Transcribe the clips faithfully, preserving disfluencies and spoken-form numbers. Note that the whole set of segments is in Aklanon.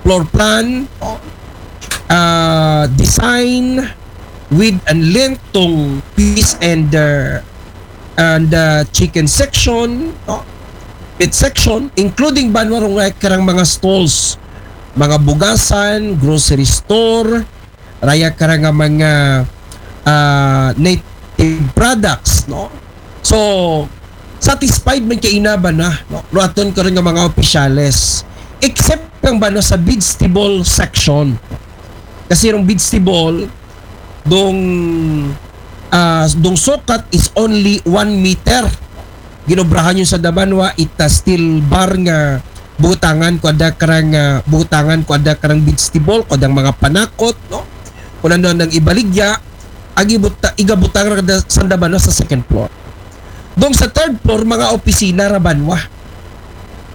floor plan, no? Ah, design, width and length tong fish and uh, and uh, chicken section, no? Meat section, including banwa rong karang mga stalls, mga bugasan, grocery store, raya karang mga uh, native products, no? So, satisfied man kay ina banwa, no? Ruaton karon nga mga opisyales. Except kang banwa sa vegetable section. Kasi rong vegetable, dong, ah, dong sukat is only one meter. Ginobrahan yun sa dabanwa, ita steel bar nga butangan ko ada karang, ah, butangan ko ada karang vegetable, ko adang mga panakot, no? Kung ano nang ibaligya, agi buta, igabutang ra kada sa dabanwa sa second floor. Dong sa third floor, mga opisina ra banwa.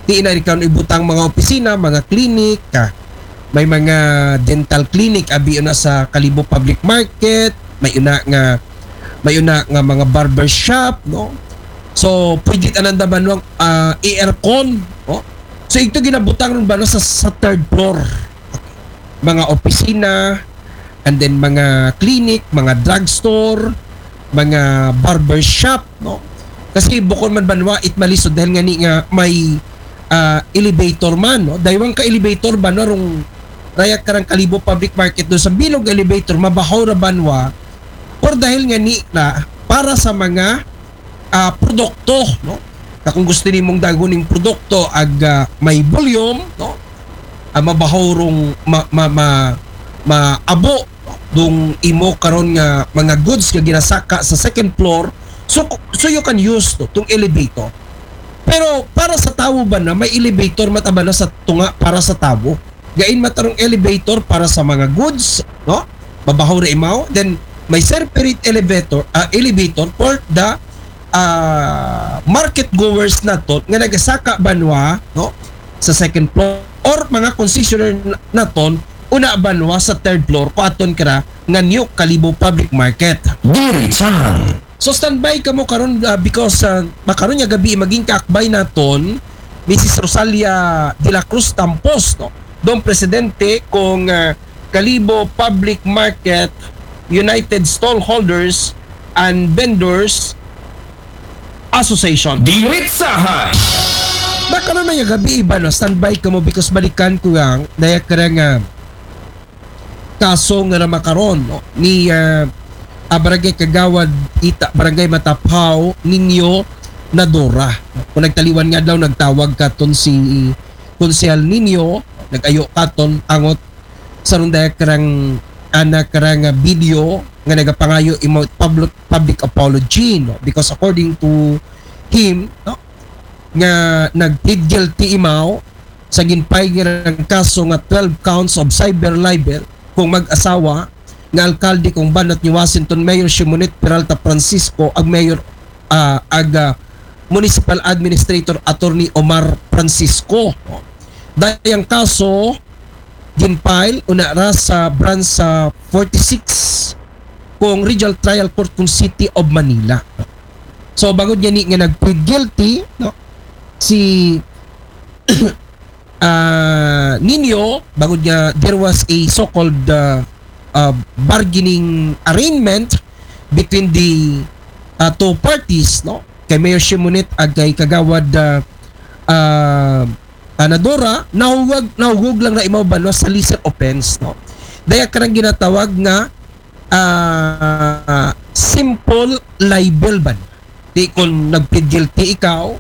Di na ikaw ibutang mga opisina, mga clinic, ah, may mga dental clinic, abi na sa Kalibo Public Market, may una nga, may una nga mga barber shop, no? So, pwede tanan da banwang ah, aircon, no? So, ito ginabutang ron banwa sa, sa third floor. Mga opisina, and then mga clinic, mga drugstore, mga barber shop, no? Kasi bukon man banwa it malisod dahil nga ni nga may ah, elevator man, no? Daywang ka elevator banwa rong raya karang Kalibo Public Market do sa bilog elevator, mabahaw ra banwa, or dahil nga ni na para sa mga ah, produkto, no? Na kung gusto nimong dagon ning produkto ag ah, may volume, no? Ah, mabahaw rong ma, ma, ma, maabo dong imo karon nga mga goods nga ginasaka sa second floor, so so you can use to tong elevator. Pero para sa tawo banwa, may elevator man ta banwa sa tunga para sa tawo. Gain man ta rong elevator para sa mga goods, no? Mabahaw ra imaw. Then may separate elevator, ah, elevator for the ah, market goers naton nga nagasaka banwa, no? Sa second floor or mga concessionaire naton una banwa sa third floor ko aton kara nga New Kalibo Public Market. Diritsahan. So standby kamo karon ah, because ah, makaron nga gabi maging kaakbay naton Missus Rosalia de la Cruz Tampos, no? Dong presidente kong ah, Kalibo Public Market United Stallholders and Vendors Association. Diritsahan. Baka na may gabi iba, no? Standby kamo because balikan ko ang daya kara nga kaso nga namakaron, no? Ni ah, ah, Barangay Kagawad Ita, Barangay Mataphaw, Ninyo Nadora. Kung nagtaliwan nga daw, nagtawag katon si Konsehal Ninyo, nag-ayo katon angot sa rundaya karang ana karang ah, video nga nagapangayo imo public public apology, no? Because according to him, no, nga nag-plead guilty imaw sa ginpay nga kaso nga twelve counts of cyber libel kung mag-asawa nga alkalde kung banat ni Washington Mayor Shimonette Peralta Francisco ag Mayor ah, ag ah, Municipal Administrator Attorney Omar Francisco. Dayang kaso ginfile una ra sa branch sa forty-six kung Regional Trial Court kung City of Manila. So bangod nga ni nga nag-plead guilty, no, si ah, Nino, bangod nga there was a so-called ah, ah, bargaining arrangement between the ah, two parties, no? Kay Mayor Shimonette ag kay Kagawad ah, ah, Anadora, nahugag, nahugog lang na imaw banwa sa lesser offense, no? Daya karang ginatawag nga ah, simple libel ba? Di kung nag-plead guilty ikaw,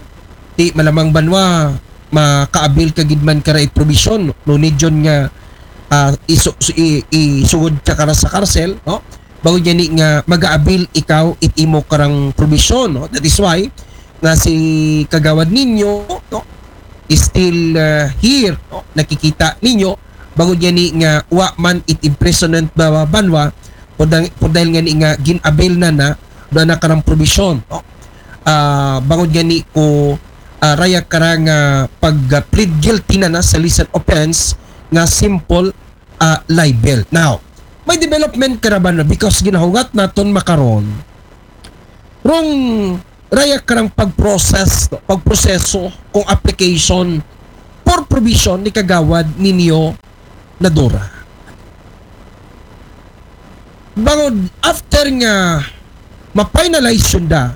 di malamang banwa, makaabil ka gid man kara it provision, no? Nunid yun nga ah, isu, su, i, isugod ka kara sa karsel, no? Bangod nga ni nga magaabil ikaw it imo karang provision, no? That is why nga si Kagawad Ninyo, no, is still ah, here, no? Nakikita ninyo, bangod nga ni nga wa man it imprisonment ba banwa, por dahil nga ni nga gin-avail na na, do na karang provision, no? Ah, bangod nga ni ko ah, raya karang ah, pag ah, plead guilty na na sa lesser offense nga simple ah, libel. Now, may development kara banwa because ginahugat naton makaron rong raya karang pag-process, no? Pagproseso kung application for provision ni Kagawad Ninyo Nadora. Bangod after nga ma-finalize yun da,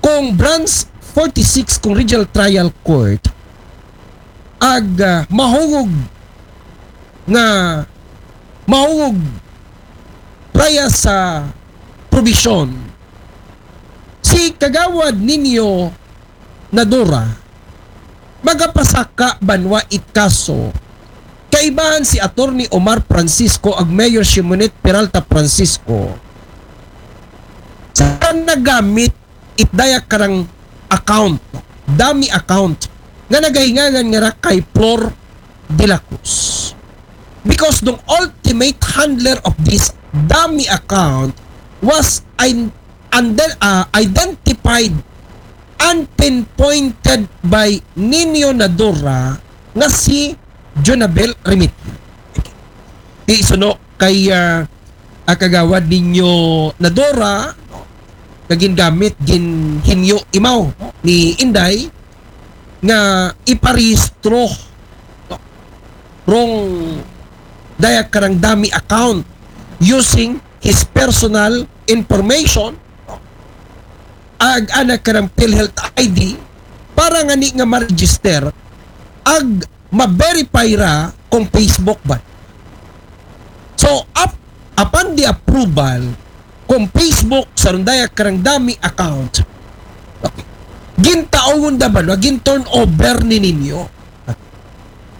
kung Branch forty-six, kung Regional Trial Court, ag ah, mahungog nga mahungog prior sa probisyon, si Kagawad Nino Nadora magapasaka banwa it kaso kaibahan si Attorney Omar Francisco ag Mayor Shimonette Peralta Francisco sa nagamit it daya karang account, dummy account, nga nagahingangan nga ra kay Flor de la Cruz. Because the ultimate handler of this dummy account was in, under, uh, identified and pinpointed by Nino Nadora nga si Jonabel Remitio. Isuno kay ah, ah, Kagawad Nino Nadora, no, nga gingamit, ginhinyo imaw, no, ni Inday nga iparehistro, no, rong daya karang dummy account using his personal information, no, ag ana karang PhilHealth I D para ngani nga ma-register ag ma-verify ra kung Facebook ba. So, up, upon the approval, kung Facebook sa rong daya karang dummy account, okay, gintaungon da banwa, gin-turn over ni Nino.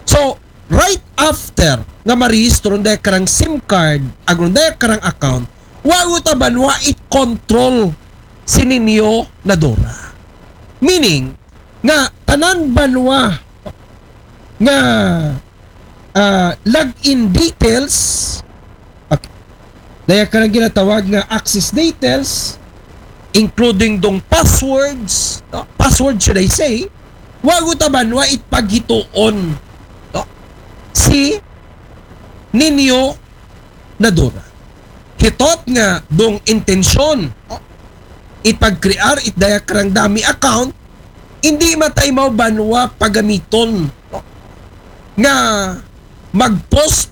So, right after nga marehistro rong daya karang SIM card, ag rong daya karang account, wa gud ta banwa it control si Nino Nadora. Meaning, nga tanan banwa nga ah, login details, okay, daya karang ginatawag nga access details, including dong passwords, no? Password, should I say, wa gud ta banwa it paghituon, no, si Nino Nadora. He thought nga dong intensyon, no, it pag-crear it daya karang dummy account, hindi matay mao banwa pagamiton, no, nga mag-post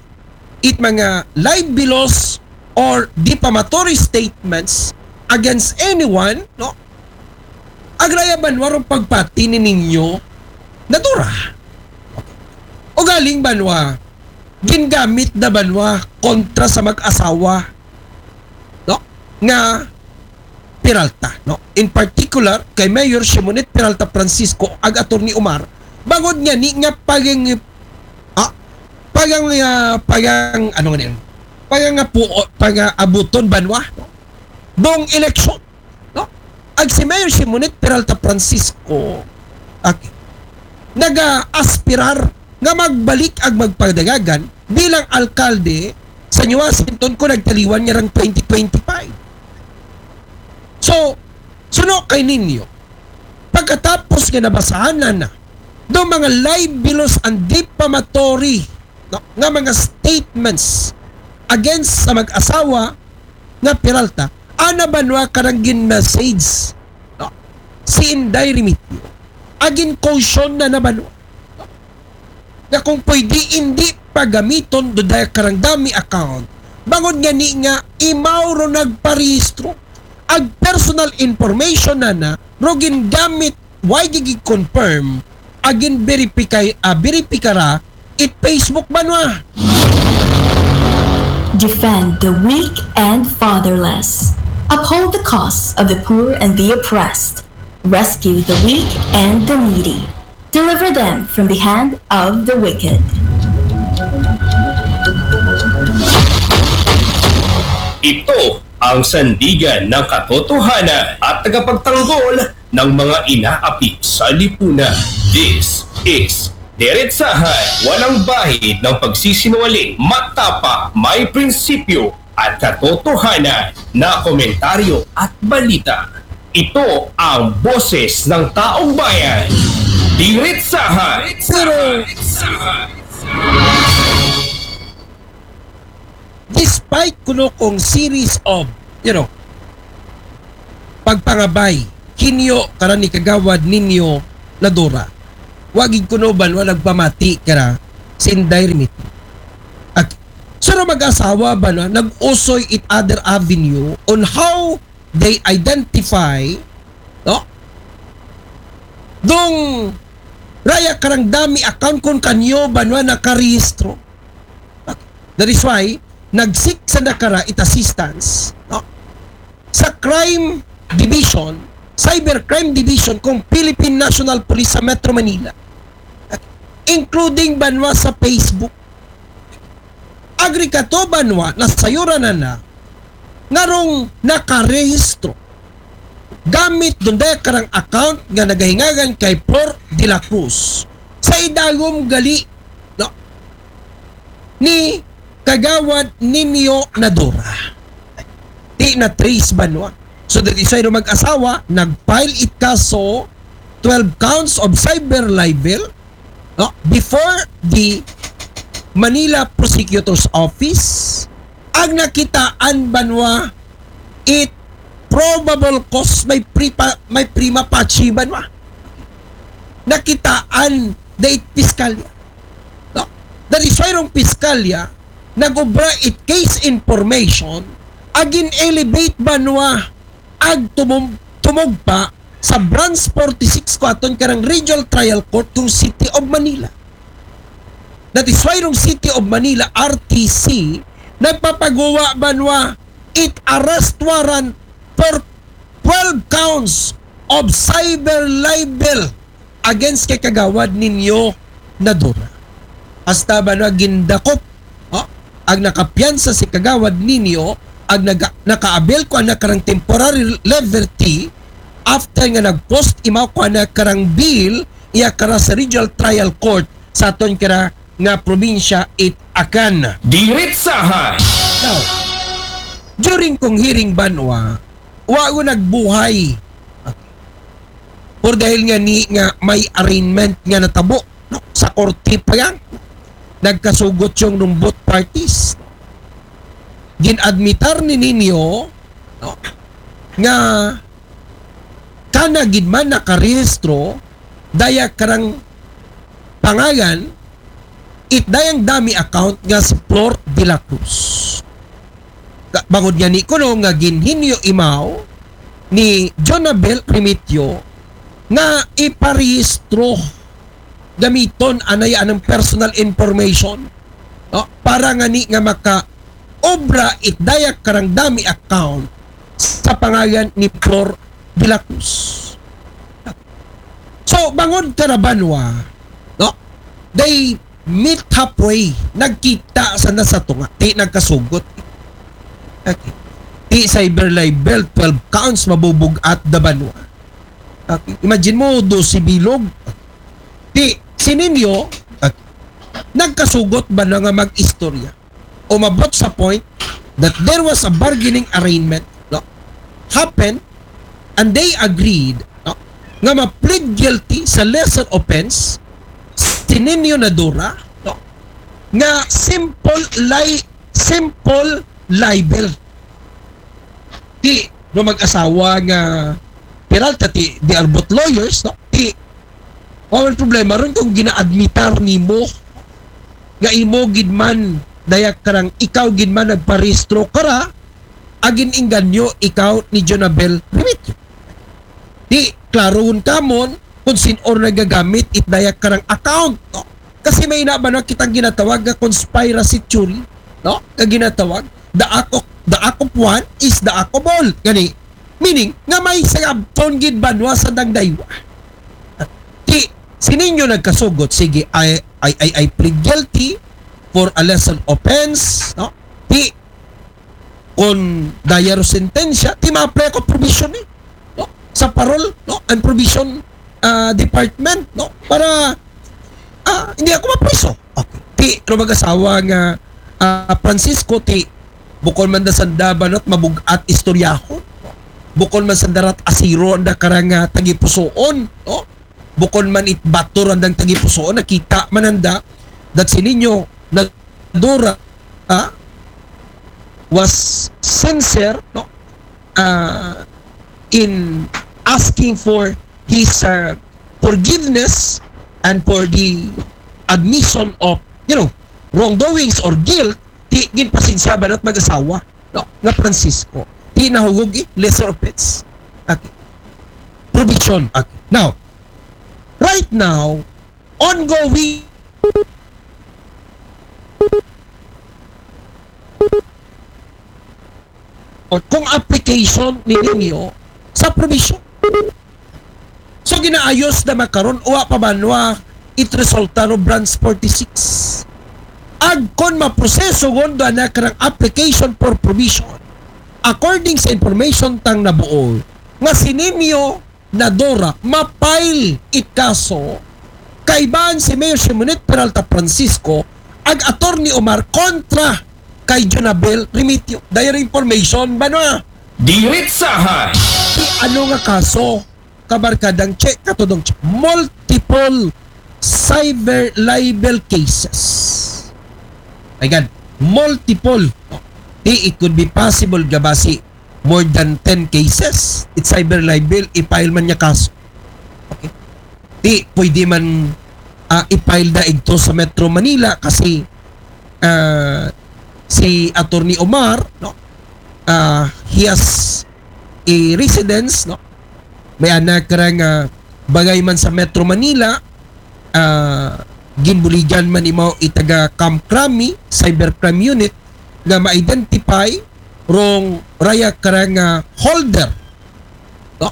it mga libelous or defamatory statements against anyone, no? Ag raya banwa rong pagpati ni Nino Nadora. Ugaling banwa, gingamit na banwa kontra sa mag-asawa, no, nga Peralta, no? In particular, kay Mayor Shimonette Peralta Francisco ag Attorney Omar, bangod ngani nga pagang-, ah, pagang-, ah, pagang-, ano nga niyan? Pagang-, apu-, pagaabuton banwa, no? Dong eleksyon, no? Ag si Mayor Shimonette Peralta Francisco, okay, naga-aspirar nga magbalik ag magpadagagan bilang alkalde sa New Washington kung nagtaliwan nga rang twenty twenty-five. So, suno kay Nino, pagkatapos nga nabasahan na na do mga libelous and defamatory, no, nga mga statements against sa mag-asawa nga Peralta, ana banwa karang gin-message, no, si Inday Remitio. Agin caution na na banwa, no, nga kung pwede, hindi pagamiton do daya karang dummy account. Bangod ngani nga imaw ro nagparehistro, ag personal information na na ro gingamit, wa gid gi-confirm, agin verify, ah, verify ra it Facebook banwa. Defend the weak and fatherless. Uphold the cause of the poor and the oppressed. Rescue the weak and the needy. Deliver them from the hand of the wicked. Ito ang sandigan ng katotohanan at tagapagtanggol ng mga inaapi sa lipunan. This is Diretsahan, walang bahid ng pagsisinungaling, matapang, may prinsipyo at katotohanan na komentaryo at balita. Ito ang boses ng taong bayan. Diretsahan. Despite kuno kung series of, you know, pagpangabay, hinyo kara ni Kagawad Nino Nadora, wa gid kuno banwa nagpamati kara si Inday Remitio. mag-asawa ba na nag-usoy it other avenue on how they identify, no? Dong raya karang dami account kon kanyo ba na nakarehistro. That is why nag-seek sanda kara it assistance, no? Sa crime division, cyber crime division kong Philippine National Police sa Metro Manila, including ba na sa Facebook. Agri kato ba na nasayuran na na nga rong nakarehistro gamit dong daya karang account nga nagahingagan kay Flor de la Cruz sa idalom gali, no, ni Kagawad Nino Nadora. Ti na-trace ba na? So that is why rong mag-asawa nag-file it kaso, twelve counts of cyber libel, no, before the Manila Prosecutor's Office. Ag nakitaan ba na it probable cause, may pripa, may prima facie ba na nakitaan da it piskalya, no? That is why rong piskalya nag-obra it case information, ag gin-elevate ba na ag tumum-, tumugpa sa Branch forty-six ko aton karang Regional Trial Court kong City of Manila. That is why rong City of Manila R T C nagpapaguwa ba na it arrest warrant for twelve counts of cyber libel against kay Kagawad Nino Nadora. Hasta ba na gindakop, ha? Ag nakapiyansa si Kagawad Nino, ag naga-, nakaabil ko ana karang temporary liberty after nga nag-post imaw ko ana karang bail iya kara sa Regional Trial Court sa aton kara nga probinsya it Acan. Diretsahan. Now, during kong hearing ba na, wa ko nagbuhay. Por dahil nga ni nga may arraignment nga natabo, no? Sa korte pa yan. Nagkasugot yung rong both parties. Gin-admitar ni Nino, no, nga kana gid man nakarehistro daya karang pangalan it dayang dami account nga si Flor de la Cruz. Ka-, bangod nga ni kuno nga ginhinyo imaw ni Jonabel Remitio nga iparehistro gamiton anay anang personal information, no? Para nga ni nga maka obra it daya karang dami account sa pangalan ni Flor de la Cruz. So, bangod kara ba na, no? They meet halfway. Nagkita sanda sa tunga. Ti nagkasugot. Okay. Ti cyber libel, twelve counts, mabubug-at da ba na. Okay. Imagine mo, dose bilog. Ti, si Nino, okay, nagkasugot ba na nga mag-istorya? Umabot sa point that there was a bargaining arraignment, no, happened, and they agreed, no, nga ma-plead guilty sa lesser offense si Nino Nadora, no, nga simple li-, simple libel. Ti, no, mag-asawa nga Peralta, ti, they are both lawyers, no? Ti, wa man problema ron kung gina-admitar nimo nga imo gid man, daya karang ikaw gid man nagparehistro kara, ag gin-engganyo ikaw ni Jonabel Remitio. Ti, klarohon ka mon kung sin-o nagagamit it daya karang account, no? Kasi may ina ba na kitang ginatawag nga conspiracy theory, no? Nga ginatawag, the act of, the act of one is the act of all. Gani, meaning, nga may sayabton gid ba na sandang daywa. Ti, si Nino nagkasugot, sige, I, I, I, I plead guilty for a lesser offense, no? Ti, kon daya ro sentensya, ti ma-apply ko provision, eh, no? Sa parole, no? And provision, ah, department, no? Para, ah, hindi ako mapriso. Okay. Ti, ro mag-asawa nga, ah, Francisco, ti, bukon man da sanda ba na it mabug-at istoryahon. Bukon man sanda rat asiro anda karang, ah, tagipusoon, no? Bukon man it bato randang tagipusoon, nakita man anda that si Nino Nadora, ah, was sincere, no? Ah, in asking for his, ah, forgiveness and for the admission of, you know, wrongdoings or guilt, Ti, ginpasensya ba nat mag-asawa, no? Nga Francisco. Ti nahugog, eh, lesser offense. Okay. Provision. Okay. Now, right now, ongoing o kung application ninyo sa provision. So, ginaayos na makaron, uwa pa banwa, it resulta no branch forty-six. Agkon maproseso ngon do ana karang application for provision. According sa information tang nabuo, nga si Nino Nadora, ma-file it kaso kaibahan si Mayor Simonette Peralta Francisco ag Attorney Omar kontra kay Jonabel Remitio. Dayon information ba na? Diritsahan. Ti ano nga kaso? Kabarkadang Che, katudong Che. Multiple cyber libel cases. Ay, gan. Multiple. Ti, it could be possible nga basi more than ten cases. It cyber libel, i-file man niya kaso. Okay. Ti, pwede man, ah, i-file na ito sa Metro Manila kasi, ah, si Attorney Omar, no? Ah, he has a residence, no? May anak karang, ah, bagay man sa Metro Manila, ah, ginbuligan man imaw itaga Camp Crame, Cybercrime Unit, nga ma-identify rong raya karang, ah, holder, no?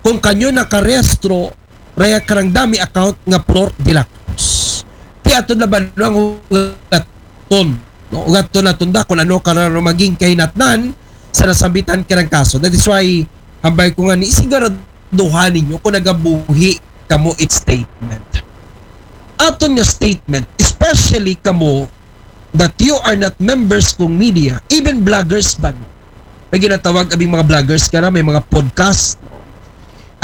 Kung kanyo nakarehistro raya karang dummy account nga Flor de la Cruz. Ti aton na ba nang hugaton, no? Hugaton na tunda kung ano karang maging kahinatnan sa nasambitan karang kaso. That is why, hambal ko nga ni, isiguraduhan ninyo kung nagabuhi kamo it statement. Aton nga statement, especially kamo that you are not members kung media, even bloggers ba? May ginatawag abing mga bloggers ka na, may mga podcast.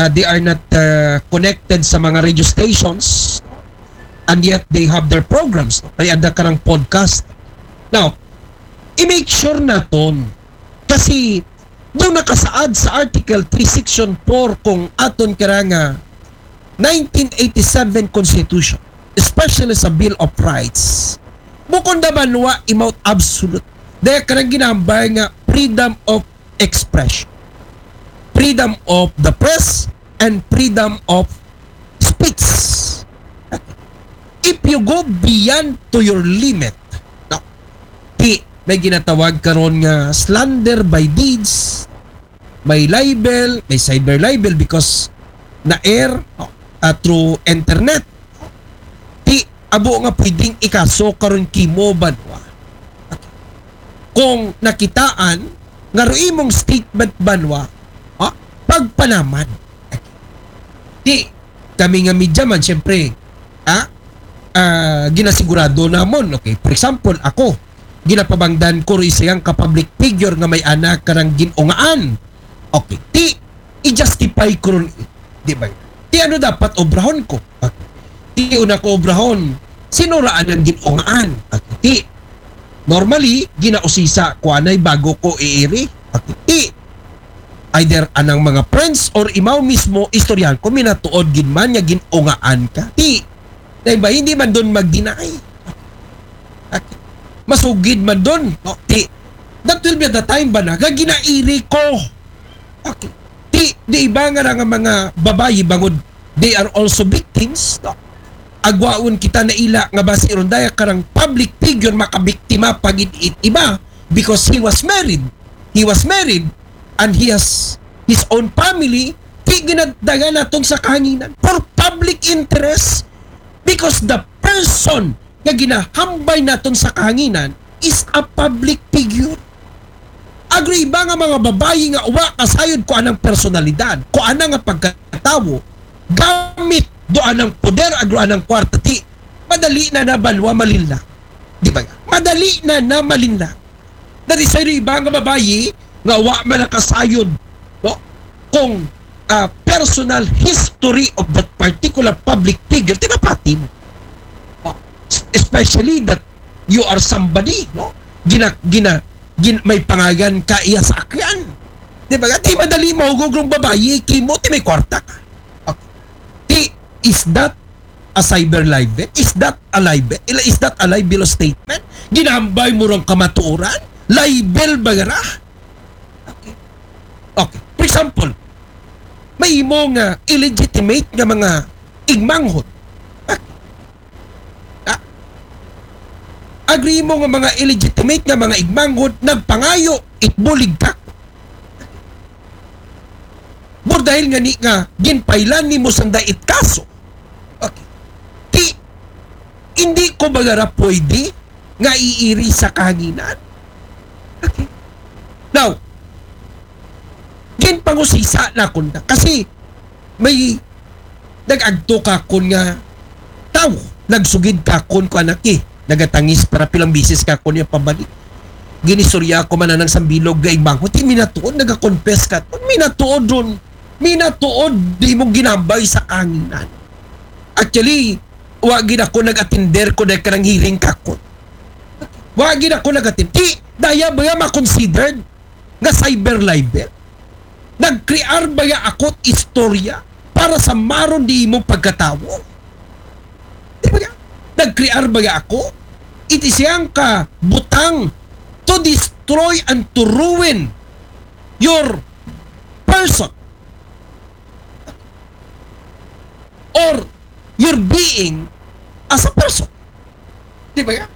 Ah, they are not, uh, connected sa mga radio stations, and yet they have their programs. May ada karang podcast. Now, i-make sure naton. Kasi, doon nakasaad sa Article three, Section four, kung aton karang nineteen eighty-seven Constitution, especially sa Bill of Rights, bukon da banwa imaw absolute. Dahil karang ginambay nga freedom of expression, freedom of the press, and freedom of speech. If you go beyond to your limit, no, ti may ginatawag karon nga slander by deeds, may libel, may cyber libel because na-air, no, ah, through internet. Ti abo nga pwedeng ikaso karon kimo banwa. Kung nakitaan nga ro imong statement banwa, ha? Pagpanaman. Ti kami nga media man, syempre, ha? Ah, ginasigurado namon, okay? For example, ako, ginapabangdan ko ro isayang ka public figure nga may anak karang ginungaan. Okay, ti, i-justify ko ron, di ba? Ti ano dapat obrahon ko? Ti una ko obrahon, sino ra anang ginungaan? Ti, normally, ginausisa ko anay bago ko iiri. Ti, either anang mga friends or imaw mismo, istoryahan ko, minatuod gid man nga ginungaan ka. Ti, dahil ba, hindi man doon mag-deny. Masugid man doon. No? Ti, that will be the time ba na, nga ginairi ko. Okay. Ti, di iba nga ra nga mga babayi bangod, they are also victims, no? Agwaon kita na ila nga basi ron daya karang public figure makabiktima pagid it iba because he was married. He was married and he has his own family. Ti ginadagan naton sa kahanginan for public interest because the person nga ginahambay naton sa kahanginan is a public figure. Agro iba nga mga babayi nga uwa kasayod ko anang personalidad, ko anang nga pagkatawo, gamit do anang poder, agro anang kwarta, ti, madali na na banwa malinlang. Di ba nga? Madali na na malinlang. That is why iba nga babayi nga uwa man nakasayod, no? Kung, ah, personal history of that particular public figure, tinapati mo. No? Especially that you are somebody, no? Gina, gina, gin, may pangagan ka iya sa akyan. Di ba? Di madali mahugog ng babayi, kimo, ti may kwarta ka. Okay. Ti, is that a cyber libel? Is that a libel? Is that a libelous statement? Ginambay mo rang kamatuoran? Libel ba ra? Okay. Okay. For example, may imo nga illegitimate nga mga igmanghod. Okay. Ah. Agree mo nga mga illegitimate nga mga igmanghod nagpangayo, itbulig ka. Bur dahil nga ni nga ginpailan nimo sanda it kaso. Okay. Ti, hindi ko ba ra pwede nga iiri sa kahanginan? Okay. Now, ginpangusisa na kunda. Kasi may nag-agto kakon nga tao, nagsugid kakon ko anak eh. Nagatangis para pilang bisis kakon niya pabalik. Ginistorya ko man anang sambilog nga igmanghod. Ti minatuod, nagakonfess ka. Minatuod ron. Minatuod, di mo ginambay sa kahanginan. Actually, wa gid ako nag-attender ko dahil kanang hearing kakon. Wa gid ako nag-attend. Ti, daya ba nga ma-considered nga cyber libel? Nagkrear ba nga ako istorya para samaron di imong pagkatawo? Di ba nga? Nagkrear ba nga ako? It is yang ka butang to destroy and to ruin your person or your being as a person. Di ba nga?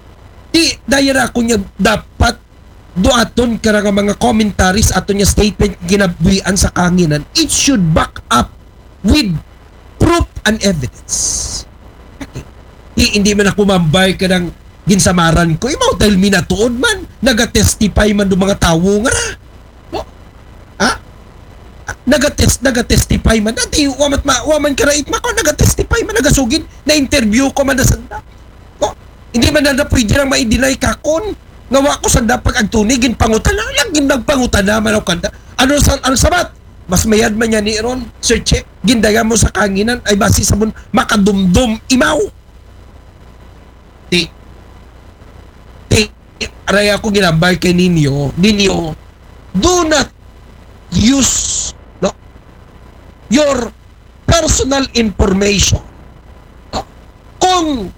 Di, daya ra ako niya dapat duaton ka ra nga mga commentaries ato niya statement ginabuhian sa kahanginan. It should back up with proof and evidence. Okay. Di, hindi man ako mambay ka ng ginsamaran ko. Imaw dahil minatuod man, nagatestify man do mga tawo nga ra. No? Ha? Nagatest, nagatestify man. Dati, wa man, ma, wa man karait mako, nagatestify man, nagasugid, na-interview ko man na sanda. No? Hindi man na pwede lang ma-deny kakon. Nga wa ko sanda pag agtuni, ginpangutana, lang ginagpangutana man ako kanda. Ano sa, ang sabat? Mas mayad man niya ni Ron, Sir Che, gindaya mo sa kahanginan, ay basi sa mun, makadumdum, imaw. Ti, ti, aray ako ginambay kay ninyo, ninyo, do not use, no, your personal information. No? Kung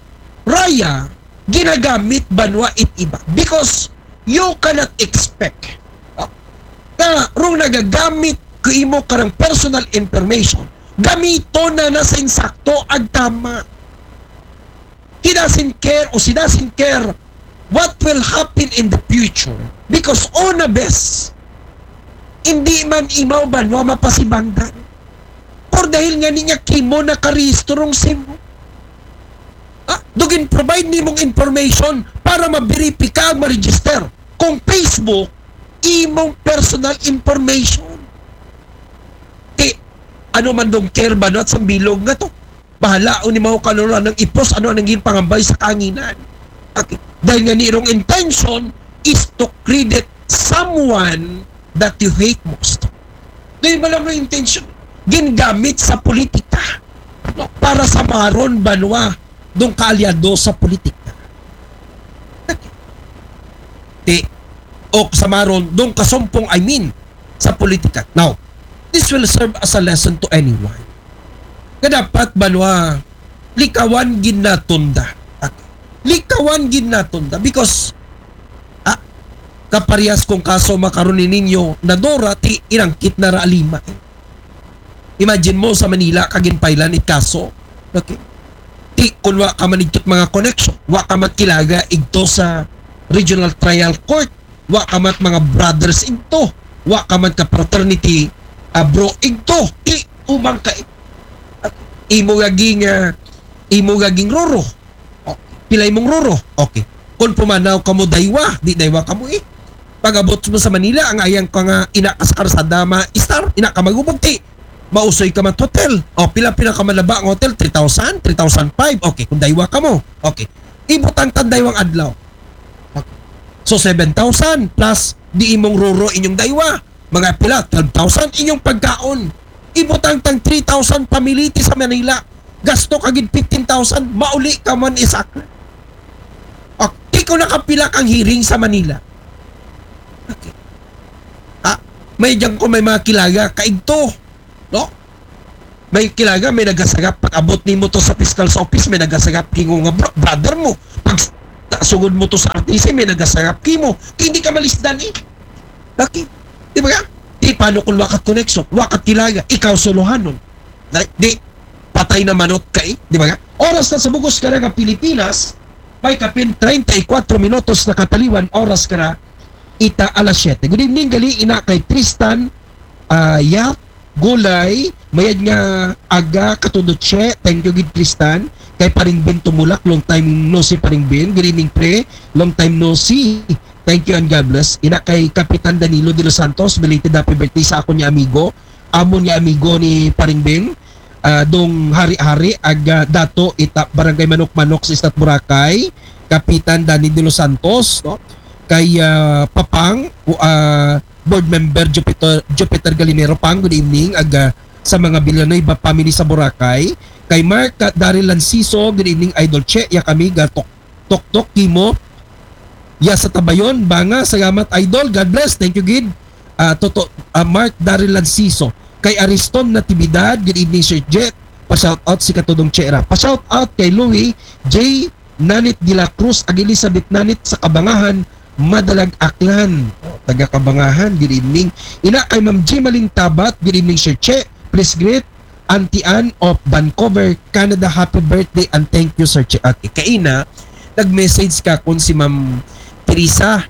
raya, ginagamit banwa it iba. Because you cannot expect, no, na rong nagagamit ko imo karang personal information, gamito na na sa insakto ag tama. He doesn't care o she doesn't care what will happen in the future because una bes, hindi man imaw banwa mapasibangdan. Or dahil nga niya kimo nakarehistro rong simo. Ah, dugin provide nimong information para maberipika ang ma-register. Kung Facebook, imong personal information. Ti, ano man dong care ba no, at sa bilog nga to? Bahala o ni mao kano anang ipos, ano anang ginpangambay sa kanginan. Okay. Dahil nga ni irong intention is to credit someone that you hate most. Dahil ba lang ang intention? Gingamit sa politika. No? Para sa maron banwa dong kaalyado sa politika. Ti, o sa maron dong kasumpong, I mean, sa politika. Now, this will serve as a lesson to anyone. Nga dapat banwa, likawan gid naton da. Likawan gid naton da because, ah, kaparehas kong kaso makaron ni ninyo na Dora, ti inangkit na ra lima. Imagine mo sa Manila ka ginpailan it kaso. Okay. Ti kun wa ka man igto't mga connection, wa ka man kilaga igto sa regional trial court, wa ka man mga brothers igto, wa ka man ka fraternity, ah, bro igto, ti umang ka imo gaging, ah, imo gaging roro. Oh, pila imong roro? Okay. Kung pumanaw kamo daywa, di daywa kamo eh. Pag-abot mo sa Manila, ang ayang ka nga ina ka sa karsada, ma-star, ina ka magubog, ti mausoy ka man hotel. O, pila, pila ka malaba nga hotel? Three thousand, three thousand five. Okay, kung daywa kamo. Okay. Ibutang tan daywang adlaw. Okay. So, seven thousand plus di imong roro inyong daywa. Mga pila, twelve thousand inyong pagkaon. Ibutang tang three thousand pamiliti sa Manila. Gasto ka gid fifteen thousand, mauli ka man isakla. Okay, kung nakapila kang hearing sa Manila. Okay. Ah, may diyan ko may mga kilaga, kaigto. No? May kilaga, may nagasagap. Pag-abot nimo to sa fiscal sa office, may nagasagap. Hingo nga, bro, brother mo. Pag Ta-, sugod mo to sa artista, may nagasarap kimo. Kay hindi ka malisdan eh. Okay? Di ba ka? Di paano kung wakat connection, wakat kilala, ikaw solohanon. Na, di, patay na manot ka eh. Di ba ka? Oras na sa bugos ka na nga Pilipinas, may kapin treinta y cuatro minutos na kataliwan, oras ka na ita alas siyete. Good evening, gali ina kay Tristan, ah, Yap, Gulay, mayad nga aga, katudot siya. Thank you gid, Tristan. Kay Paring Ben Tumulak, long time no si Paring Ben. Good evening, pre. Long time no see. Thank you and God bless. Ina kay Kapitan Danilo de los Santos, belated happy birthday sa ako niya amigo. Amo niya amigo ni Paring Ben. Ah, dong hari-hari, aga dato ita Barangay Manok-Manok sa Istat Boracay. Kapitan Danny de los Santos, no? Kay, ah, Papang, ah, board member Jupiter, Jupiter Galinero, Pang, good evening. Aga sa mga Villanueva family sa Boracay. Kay Mark, ah, Daryl Lanciso, good evening, Idol Che. Ya kami, gatok, tok, tok, kimo. Ya sa Tabayon, Banga, salamat, Idol. God bless. Thank you, gid. Ah, Toto, ah, Mark Daryl Lanciso. Kay Ariston Natividad, good evening, Sir Jet. Pa-shout out si Katudong Chera. Pa-shout out kay Louie J Nanit de la Cruz, ag Elizabeth Nanit sa Kabangahan, Madalag, Aklan. Taga Kabangahan, good evening. Ina kay Ma'am Jimaling Tabat, good evening, Sir Che. Please greet Auntie Ann of Vancouver, Canada. Happy birthday and thank you, Sir Che. Okay, kaina, nag-message ka kung si Ma'am Teresa,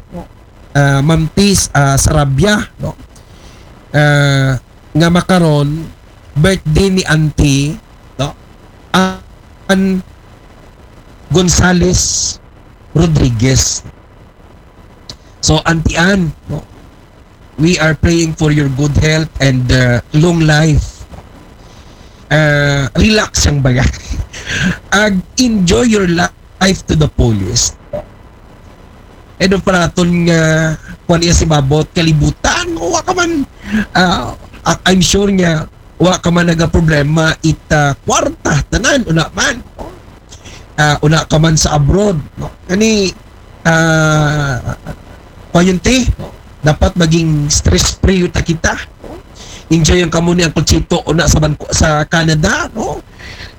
ah, Ma'am Tis, ah, Sarabia, no? Ah, nga makaron, birthday ni Auntie, no? Ann Gonzales Rodriguez. So, Auntie Ann, no? We are praying for your good health and, uh, long life. Uh, relax ang baga. Ag enjoy your life to the fullest. Edo paraton nga kuan iya si babot kalibutan, wa ka man, ah, I- I'm sure nga wa ka man nagaproblema ita kwarta, tanan, una man. Ah, una ka man sa abroad, no? Kani, ah, kuan yun, te, no? Dapat maging stress free ta kita, no? Enjoy ang kamo ni Uncle Chito una sa Banco, sa Canada, no?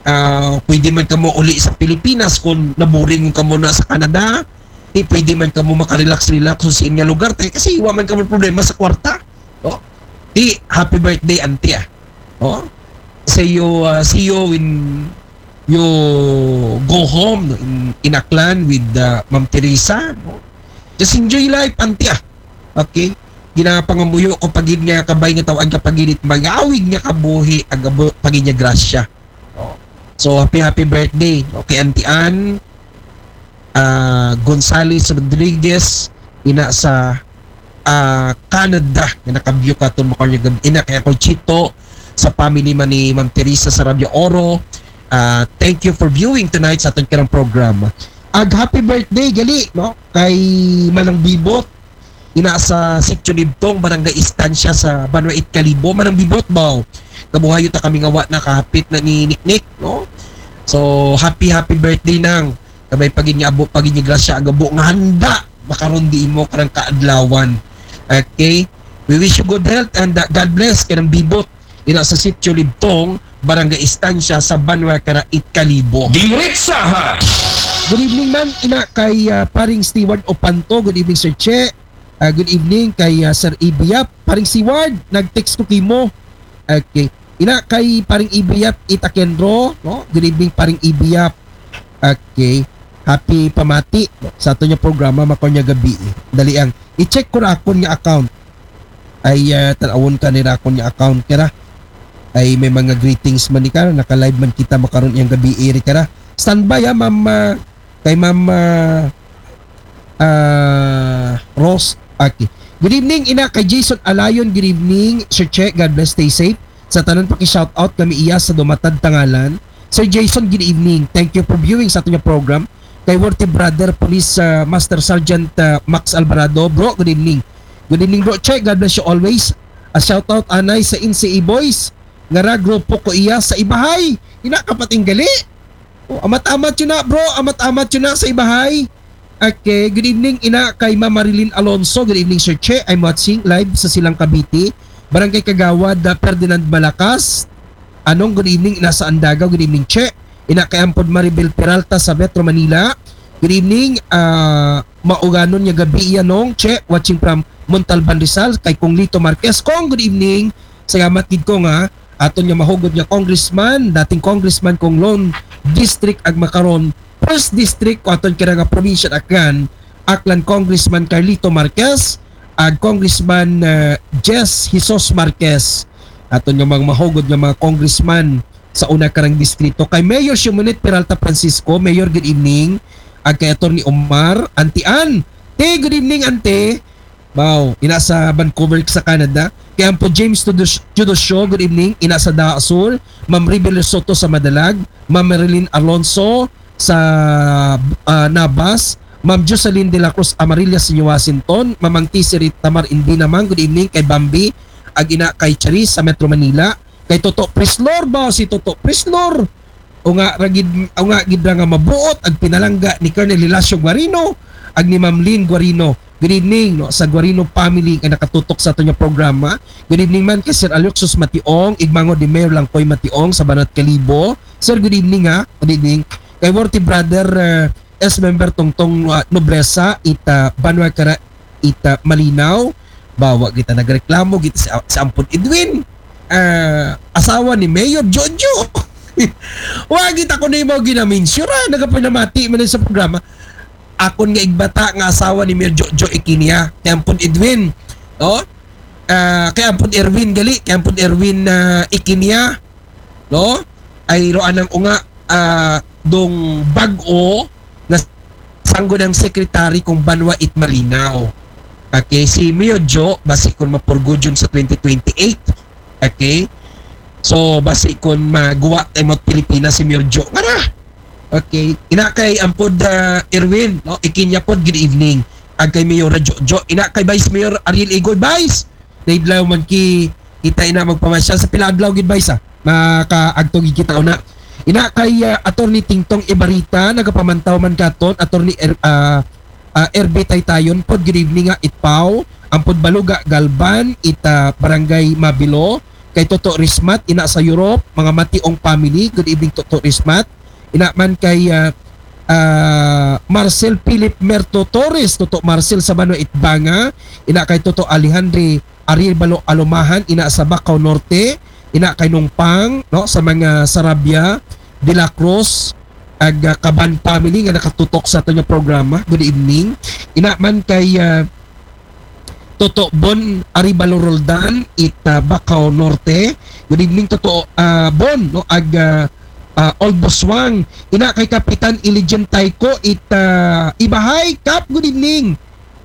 Ah, pwede man kamo uli sa Pilipinas kung naboring kamo na sa Canada. Di pwede man kamo makarelax-relax sa inyong lugar, te, kasi wa man kamo problema sa kwarta, no? Di, happy birthday, auntie, ah. Oh? See you, uh, see you when you go home, no, in, in Aklan with, uh, Ma'am Teresa, no? Just enjoy life, auntie, ah. Okay? Ginapangamuyo ko pagid nga kabay nga tawag ka pagid it magawig nga kabuhi, agabo pagid nga grasya. Oh. So, happy, happy birthday. Okay, Auntie Ann, ah, Gonzales Rodriguez, ina sa, ah, Canada, nga nakabyo ka ton makanya gabi. Ina kay Uncle Chito, sa family man ni Ma'am Teresa sa Radyo Oro. Ah, thank you for viewing tonight sa aton karang programa. Ag happy birthday, gali, no? Kay Manang Bibot, ina sa Sitio Libtong, Barangay Estancia sa Banwa Itkalibo. Manang Bibot, baw. Kabuhayo ta kami nga wa na kahapit na ni Niknik, no? So, happy, happy birthday, Nang. Kabay pagid nga abo, pagid nga grasya, agabo nga handa makaron di imo karang kaadlawan. Okay? We wish you good health and, uh, God bless kanang Bibot. Ina sa Sitio Libtong, Barangay Estancia sa Banwa kara Itkalibo. Diretsahan! Good evening, ma'am. Ina kay, ah, Paring Steward Opanto. Good evening, Sir Che. Ah, good evening kay, ah, Sir Ibiyap. Paring Steward, nag-text ko kimo. Okay. Ina kay Paring Ibiyap Itakenro, no? Good evening, Paring Ibiyap. Okay. Happy pamati, no? Sa ato niya programa, makaon niya gabi. Dali ang i-check ko ra akon nga account. Ay, ah, tan-awon ka nira akon nga account kara. Ay, may mga greetings man ni kara. Naka-live man kita makaron yang gabi, iri kara. Standby, ha, Ma'am, ah, kay Ma'am, ah, ah, Rose Aki. Good evening, ina kay Jason Alayon. Good evening, Sir Che. God bless, stay safe. Sa tanan, paki-shout out kami iya sa dumatad tangalan. Sir Jason, good evening. Thank you for viewing sa aton nga program. Kay worthy brother, Police, ah, Master Sergeant, ah, Max Alvarado. Bro, good evening. Good evening, Bro Che. God bless you always. A shout out anay sa N C A Boys. Ngara grupo ko iya sa Ibahay. Ina kapating gali. Oh, amat-amat yun na, bro. Amat-amat yun na sa Ibahay. Okay, good evening, ina kay Ma'am Marilyn Alonso. Good evening, Sir Che. I'm watching live sa Silang Cavite. Barangay Kagawad, uh, Ferdinand Malakas. Anong, good evening, ina sa Andagaw. Good evening, Che. Ina kay Ampod Maribel Peralta sa Metro Manila. Good evening. Ah, mauganon nga gabii iya, Nong Che, watching from Montalban, Rizal, kay Kong Lito Marquez. Kong, good evening. Salamat gid, Kong, ha. Aton nga mahugod nga congressman, dating congressman kong lone district ug makaron first district ko aton kira nga probinsya Aklan, Aklan Congressman Carlito Marquez, ug Congressman, ah, Jess Jesus Marquez. Aton nga mga mahugod nga mga congressman sa una karang distrito. Kay Mayor Shimonit Peralta Francisco, Mayor, good evening. Ug kay Attorney Omar, Auntie Ann. Te, good evening, Ante. Wow, ina sa Vancouver sa Canada. Kay ampo James Tudos-, Teodosio, good evening. Ina sa Daha Sur, Ma'am Ribel Soto sa Madalag, Ma'am Marilyn Alonso sa, ah, Nabas, Ma'am Jocelyn de la Cruz Amarilla sa New Washington, Mamang T C Rita Mar Indinamang, good evening kay Bambi, ug ina kay Charis sa Metro Manila, kay Toto Prislor ba si Toto Prislor? O nga ra gid, o nga gid ra nga mabuot ang pinalangga ni Colonel Hilacio Guarino ug ni Ma'am Lynn Guarino. Good evening, no, sa Guarino family nga nakatutok sa aton nga programa. Good evening man kay Sir Alexis Mationg, igmango ni Mayor Langkoy Mationg sa Banat Kalibo. Sir, good evening, ha. Good evening. Kay worthy brother, uh, S member Tongtong, uh, Nobresa, ita Banwa Kara, ita Malinaw. Bawa kita nagreklamo, kita si, si Ampon Edwin. Ah, asawa ni Mayor Jojo. Wa kita ko na yung mga ginaminsura, nagapinamati man sa programa. Akon nga igbata nga asawa ni Mayor Jojo Ikinia, kay Ampon Edwin. No? Ah, kay Ampon Erwin gali, kay Ampon Erwin, ah, Ikinia. No? Ay roan ang unga, ah, dong bag-o na sangguniang secretary kong Banwa it Malinaw. Okay, si Mayor Jo, basi kon mapurgudyon sa twenty twenty-eight. Okay? So, basi kon maguwa tayo mo Pilipinas si Mayor Jo. Nga na! Okay. Ina kay ampod, ah, Erwin, no? Ikinya pod, good evening. Ag kay Mayor Jo, Jo. Ina kay Vice Mayor Ariel Igoy, Vice! Naidlaw man ki, kita ina magpamasyal sa pila adlaw gid, Vice, ah. Makaagto gid kita una. Ina kay, ah, Attorney Tingtong Ibarita, nagapamantaw man katon, Attorney Er-, ah, ah, R B Taytayon pod, good evening, ah, Itpaw, ampod Baluga Galban, ita Barangay Mabilo, kay Toto Rismat, ina sa Europe, mga Mationg family, good evening, Toto Rismat. Ina man kay, ah, ah, Marcel Philip Merto Torres, Toto Marcel sa Bano Itbanga, ina kay Toto Alejandre Ariel Balo Alumahan, ina sa Bacau Norte, ina kay Nongpang, no, sa mga Sarabia, De La Cruz, ag, ah, Kaban family nga nakatutok sa aton nga programa. Good evening. Ina man kay, ah, Toto Bon Aribalo Roldan, it, ah, Bacau Norte. Good evening, Toto, ah, Bon, no, ag, ah, ah, Old Boswang. Ina kay Kapitan Ilijan Taiko, it, ah, Ibahay, Kap, good evening.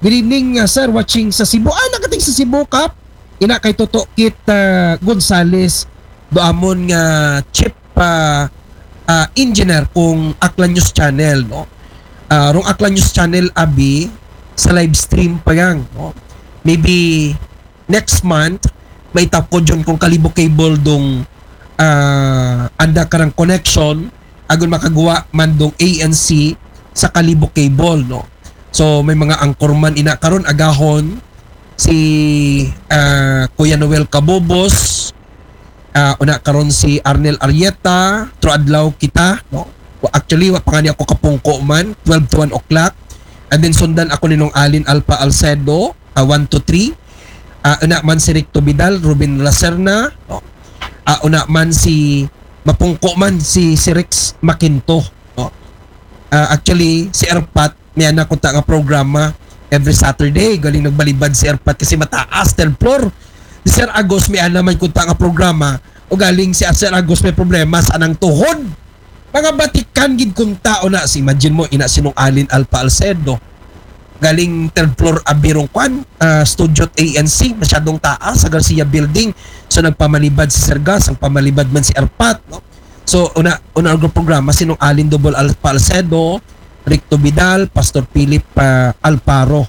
Good evening, uh, sir, watching sa Cebu. Ah, nakating sa Cebu, Kap. Ina kay Toto Kit, uh, Gonzales, do amon nga chief, uh, uh, engineer kong Aklan News Channel, no? Uh, rong Aklan News Channel, abi, sa live stream pa yang, no? Maybe next month, may tapod yun kong Kalibo Cable dong, uh, anda karang connection, agon makaguwa man dong A N C sa Kalibo Cable, no? So, may mga anchorman ina karon agahon si, ah, Kuya Noel Cabobos, ah, una karon si Arnel Arieta, tro adlaw kita, no? Wa-, actually, wa pa nga ni ako kapungko man, twelve to one o'clock. And then sundan ako ni Nong Alin Alpa Alcedo, ah, one to three. Ah, una man si Rick Tobidal, Ruben Lacerna, no? Ah, una man si, mapungko man si, si Rex Makinto, no? Ah, actually, si Erpat, may ana kunta nga programa every Saturday. Galing nagbalibad si Erpat kasi mataas, third floor. Si Sir Agos, may ana man kunta nga programa. O galing si Sir Agos may problema sa anang tuhod. Mga batikan gid kunta, o na, si imagine mo, ina sinong Alin Alpa Alcedo. Galing third floor abirong kwan, ah, studio at A N C, masyadong taas sa Garcia Building. So, nagpamalibad si Sir Gas, ang pamalibad man si Erpat, no? So, una, una ang programa, sinong Alin Double Alpa Alcedo, Ricto Vidal, Pastor Philip, ah, Alparo.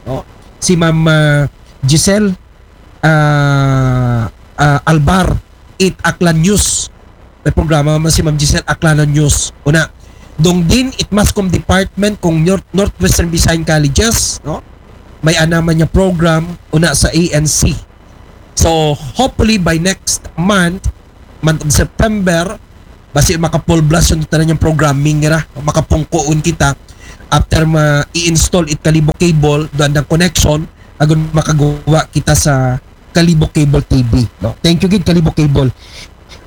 No? Si Ma'am, ah, Giselle, ah, ah, Albar, it Aklan News. May programa man si Ma'am Giselle, Aklanan News. Una, dong din, it Mass Comm Department kong North-, Northwestern Visayan Colleges, no? May ana man niya program, una sa A N C. So, hopefully by next month, month of September, basi maka-full blast yung tanan yung programming nila, makapungkuon kita. after ma-i-install it Kalibo Cable, duan dang connection, agon makagawa kita sa Kalibo Cable T V, no? Thank you gid, Kalibo Cable.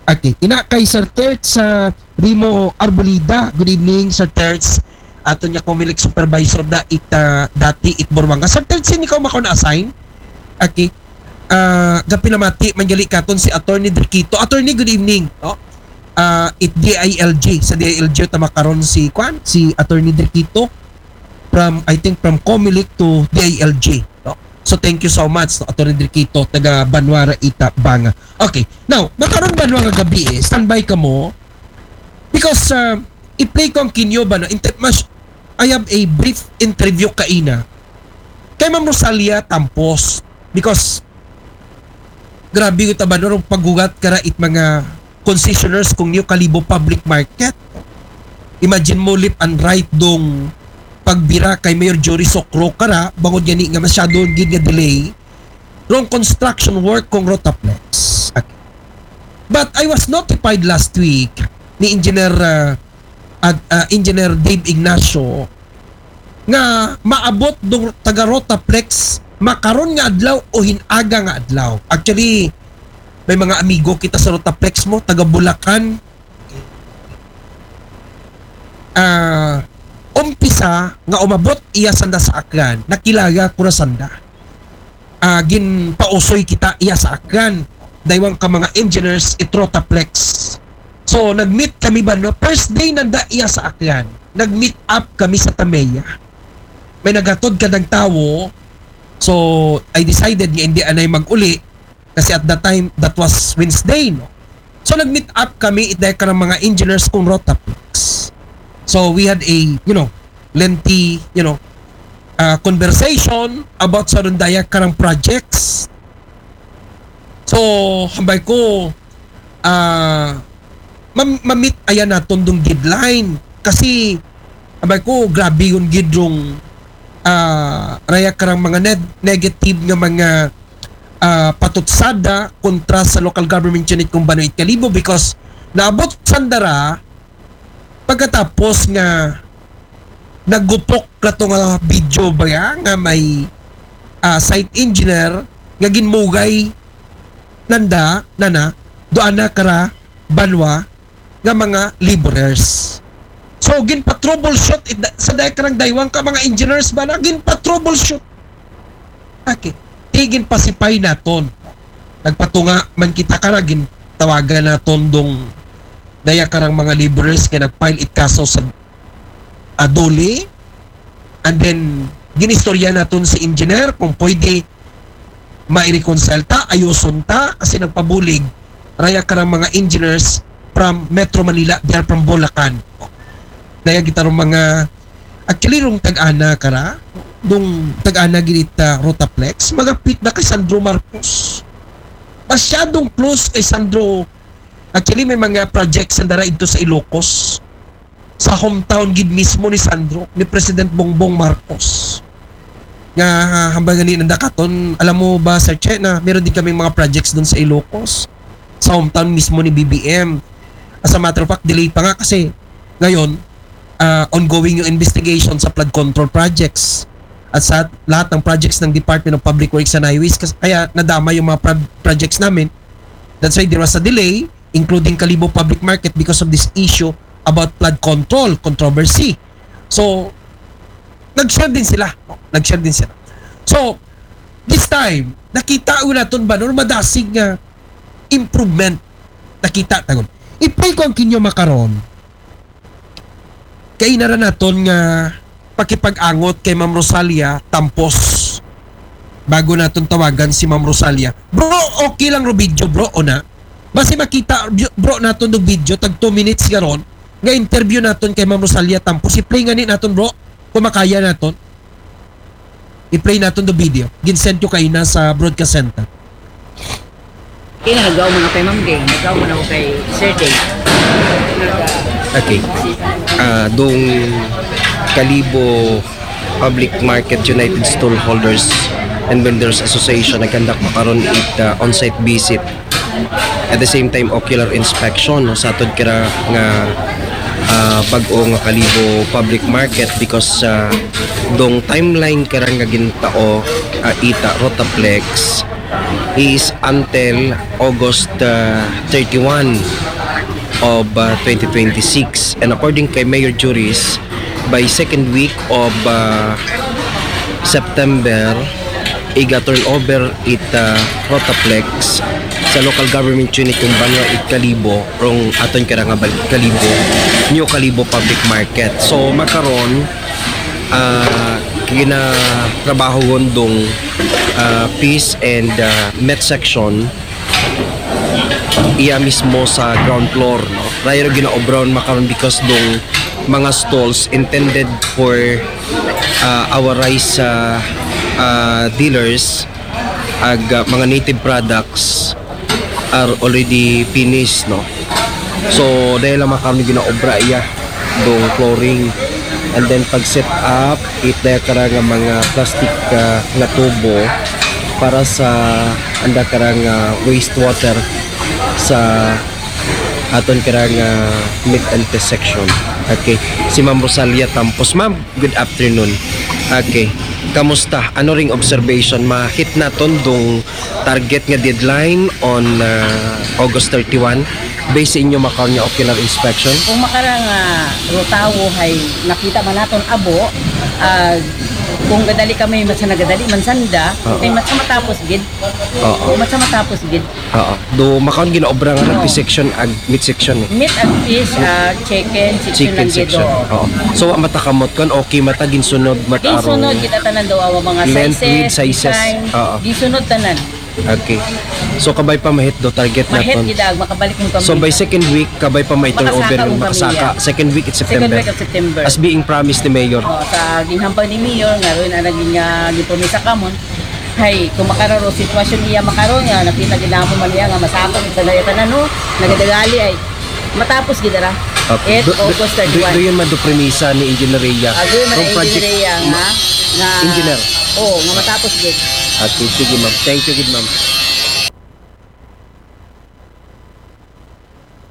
Okay, ina kay Sir Terts sa Rimo Arbolida. Good evening, Sir Terts. Aton nga Comelec supervisor da it, ah, dati it Buruanga. Sir Terts, sini ka makaon assign? Okay. Ah, gapil a mati man gali katon si Attorney Drikito. Attorney, good evening, no? Ah, it D I L G, sa D I L G ta makaron si kwan, si Attorney Drikito from, I think, from Comelec to D I L G, no? So thank you so much, no, Attorney Drikito, taga Banwa ra ita, Banga. Okay. Now, makaron Banwa nga gabii, standby kamo. Because, uh, i-play ko ang kinyo ba na, inter- mas, I have a brief interview kaina kay Ma'am Rosalia Tampos. Because grabe ko ta ba, no, paghugat kara it mga concessioners kung New Kalibo Public Market. Imagine mo, left and right, dong pagbira kay Mayor Jory Socro kara, bangod gani nga masyado gid nga delay rong construction work kung Rotaplex. Okay. But I was notified last week ni Engineer, uh, at, uh, Engineer Dave Ignacio nga maabot dong taga Rotaplex makaron nga adlaw o hin-aga nga adlaw. Actually, may mga amigo kita sa Rotaplex mo, taga Bulacan. Ah, umpisa nga umabot iya sanda sa Aklan, nakilala ko na sanda. Ah, ginpausoy kita iya sa Aklan. Daywang ka mga engineers it Rotaplex. So, nag-meet kami ba, no? First day nanda iya sa Aklan. Nag-meet up kami sa Tameya. May naghatod ka ng tawo. So, I decided nga hindi anay mag-uli. Kasi at that time, that was Wednesday, no? So, nag-meet up kami, it dahil ka ng mga engineers kung Rotaplex. So, we had a, you know, lengthy, you know, uh, conversation about sa rundaya karang projects. So, hambay ko, ah, mam- mamit ayan naton dong deadline. Kasi, hambay ko, grabe yung gidrong, ah, raya karang mga neg- negative nga mga, ah, patutsada kontra sa local government unit kung Banwa it Kalibo, because naabot sanda ra pagkatapos nga nagupok na to nga video ba ya, nga may, ah, site engineer nga ginmugay nanda, nana, doon na kara Banwa nga mga laborers. So, ginpa-troubleshoot it da- sa dahil karang daywang ka mga engineers ba na, ginpa-troubleshoot. Okay. Ti ginpasipay naton. Nagpatunga man kita kara, gintawagan naton dong daya karang mga laborers nga nag-file it kaso sa DOLE. And then, ginistorya naton si engineer kung pwede ma-reconcile ta, ayuson ta, kasi nagpabulig raya karang mga engineers from Metro Manila, they are from Bulacan. Daya kita rong mga, actually, rong tag-ana kara, dong tag-ana gid it, ah, Rotaplex, magapit na kay Sandro Marcos. Masyadong close kay Sandro. Actually, may mga projects na dara ito sa Ilocos. Sa hometown gid mismo ni Sandro, ni President Bongbong Marcos. Nga, ah, hambal nga ni nanda katon, alam mo ba, Sir Che, na meron din kaming mga projects doon sa Ilocos, sa hometown mismo ni B B M. As a matter of fact, delay pa nga kasi ngayon, ah, ongoing yung investigation sa flood control projects at sa lahat ng projects ng Department of Public Works and Highways, kasi kaya nadama yung mga pro- projects namin. That's why there was a delay, including Kalibo Public Market, because of this issue about flood control controversy. So, nag-share din sila. Nag-share din sila. So, this time, nakita ko naton ba, no, madasig nga improvement nakita tagon. I-play ko ang kinyo makaron. Kaina ra naton nga pakipag-angot kay Ma'am Rosalia Tampos. Bago naton tawagan si Ma'am Rosalia. Bro, okay lang ro video, bro, o na? Basi makita, bro, naton dong video, tag two minutes garon, nga interview naton kay Ma'am Rosalia Tampos. I-play nga ni naton, bro, kung makaya naton. I-play naton dong video. Ginsend ko kaina sa broadcast center. Kaya nagawa mo na kay Ma'am Gay, nagawa mo na ako kay Sir Jay. Okay. Ah, dong Kalibo Public Market United Stallholders and Vendors Association nagkandak makaron it, ah, on-site visit. At the same time, ocular inspection, no, sa atod kira nga ah, bag-o nga Kalibo Public Market because, ah, dong timeline karang nga gintao, ah, ita Rotaplex is until August, ah, thirty-one of, ah, twenty twenty-six. And according kay Mayor Juris, by second week of, ah, September, iga turnover it, ah, Rotaplex sa local government unit kung banwa it Kalibo, rong aton kara nga balik Kalibo, New Kalibo Public Market. So makaron, ah, ginatrabaho dong, ah, Peace and, ah, Met section iya mismo sa ground floor, no? Rayro ginaobra makaron because dong mga stalls intended for, ah, our rice, ah, ah, dealers ag, ah, mga native products are already finished, no? So dahil lang makaron ginaobra iya dong flooring and then pag set up it daya kara nga mga plastic, ah, nga tubo para sa anda kara nga wastewater sa aton kara nga meat and fish section. Okay. Si Ma'am Rosalia Tampos. Ma'am, good afternoon. Okay. Kamusta? Ano ring observation? Ma-hit naton dong target nga deadline on, ah, August thirty-one? Based sa inyo makaron nga ocular inspection? Kung makara nga rutawo hay nakita man naton abo, ah, kung gadali kami, mas nagadali man sanda, Oo. ay mas matapos gid. Oo. Mas matapos gid. Oo. Do makaron ginaobra nga Oo. Fish section ag meat section eh. Meat and fish, ah, chicken, chicken Chicken lang gid. section. Oo. So wa mata kamot kon okay mata ginsunod makaron. Ginsunod gid tanan daw ang mga Length, sizes, width, sizes. design. Oo. Ginsunod tanan. Okay. So kabay pa ma-hit do target Ma-hit naton. gid ang makabalik mo kami. So by second week kabay pa ma-turnover Makasaka ang makasaka. pamilya. Second week it's Second September. week of September. As being promised ni Mayor. Oh, sa ginhambal ni Mayor nga ron ang naging uh, gipromisa kamon. Hay, kung makararo sitwasyon iya makaron nga nakita gid namo man niya nga masakop sa dayatan ano, nagadagali ay matapos gid ra. Okay. It Do- do- August do- thirty-one. Do yun man do premisa ni Engineer Rhea? Agoy man From ang project engineer nga nga Engineer. Oh, nga matapos gid. Okay, sige ma'am. Thank you gid ma'am.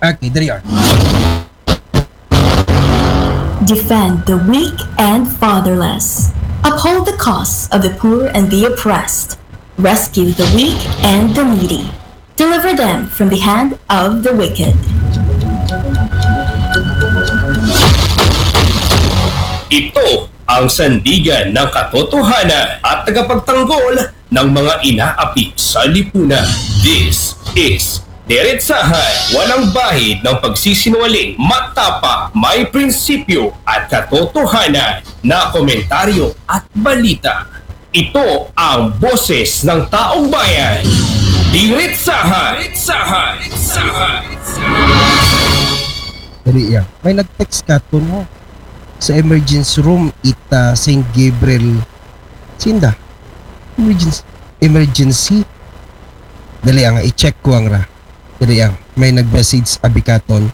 Okay, there you are. Defend the weak and fatherless. Uphold the cause of the poor and the oppressed. Rescue the weak and the needy. Deliver them from the hand of the wicked. Ito ang sandigan ng katotohanan at tagapagtanggol ng mga inaapi sa lipunan. This is Diretsahan, walang bahid ng pagsisinungaling, matapa, may prinsipyo at katotohanan na komentaryo at balita. Ito ang boses ng taong bayan. Diretsahan. Diretsahan. Diretsahan. Dali yan. May nag-text katon sa emergency room ita Saint Gabriel. Sinda? Emergency. Emergency. Dali ang i-check ko ang ra. Dali ang may nag-message abi katon.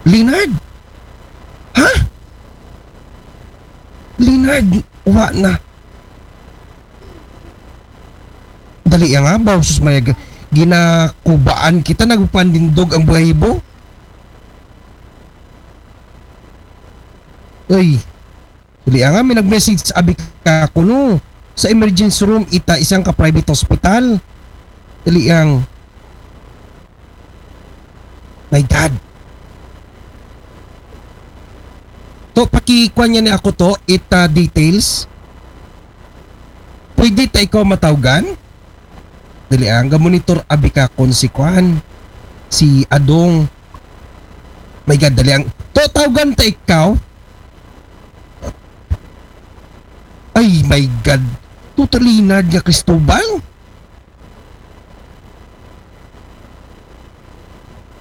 Leonard? Ha? Leonard, wa na. Dali ang abaw, sus Maria, g- ginakubaan kita, nagpandindog ang balahibo. Uy, dali ang, may nag-message abi ka kuno sa emergency room ita isang ka private hospital. Dali ang, my God. To, pakikuan niya ni ako to, ita details. Pwede ta ikaw matawgan? Dali ang, ga-monitor abi ka kon si kuan, si Adong. My God, dali ang, to, tawgan ta ikaw. Ay, my God. Tuta Leonard nga Cristobal?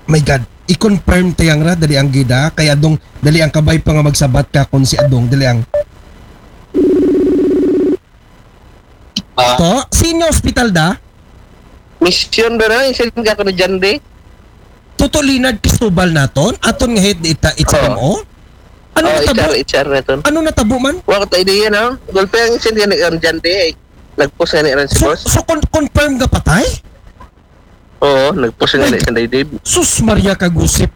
My God, i-confirm ta yang ra, dali ang gida. Kay Adong, dali ang, kabay pa nga magsabat ka kon si Adong, dali ang. Ah, To, sino hospital da? Mission ba na? Isin ka ko ni Jande? Tuto Leonard Cristobal naton, aton nga head ita H M O. Ano Oh, natabo? H R, H R na to. Ano natabo man? Wa ko ta idea, no? Gulpe ang isin ka ni Jande, eh. Nag-post nga ni Aaron si So, boss. So con- confirm nga patay? Oo, nag-post nga ni Sunday Dave. Sus Maria kagusip.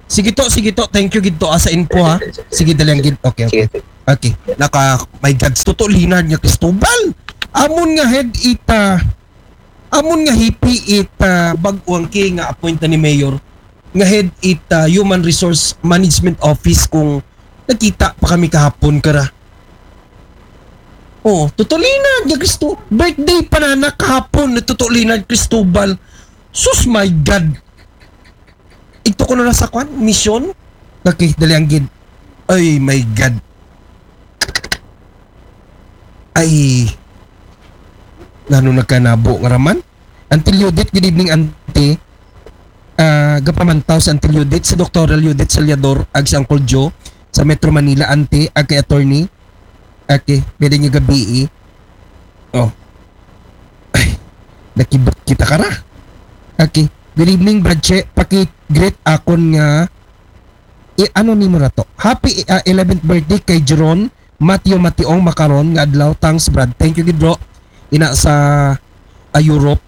Sige to, sige to. Thank you gid to, ah, sa info, ha. Sige, dali ang gid. Okay, okay. Sige. Okay. Naka, my God, Toto Leonard nga Cristobal. Amon nga head ita, amon nga hipi ita, bag-o ang ki nga appoint na ni Mayor. Nga head ita, Human Resource Management Office kung nakita pa kami kahapon kara. Oh, Toto Leonard nga Cristo, birthday pa na na kahapon na Toto Leonard Cristobal. Sus, my God. Ito ko na sa kwan, mission. Okay, dali ang gid. Ay, my God. Ay. Ngano nagkanabo nga raman? Auntie Judith, good evening, Auntie. Ah, gapamantaw sa Auntie Judith, sa Doktora Judith Saliador, ag sa Uncle Joe, sa Metro Manila, Auntie, ag kay Attorney. Okay, pwede nga gabi eh. Oh. Ay, nakibot kita kara. Okay. Good evening, Bradche. Paki-greet akon nga i ano nimo ra to. Happy ah, eleventh birthday kay Jeron Mateo Mationg Macaron nga adlaw. Thanks, Brad. Thank you gid, bro. Ina sa ah, Europe.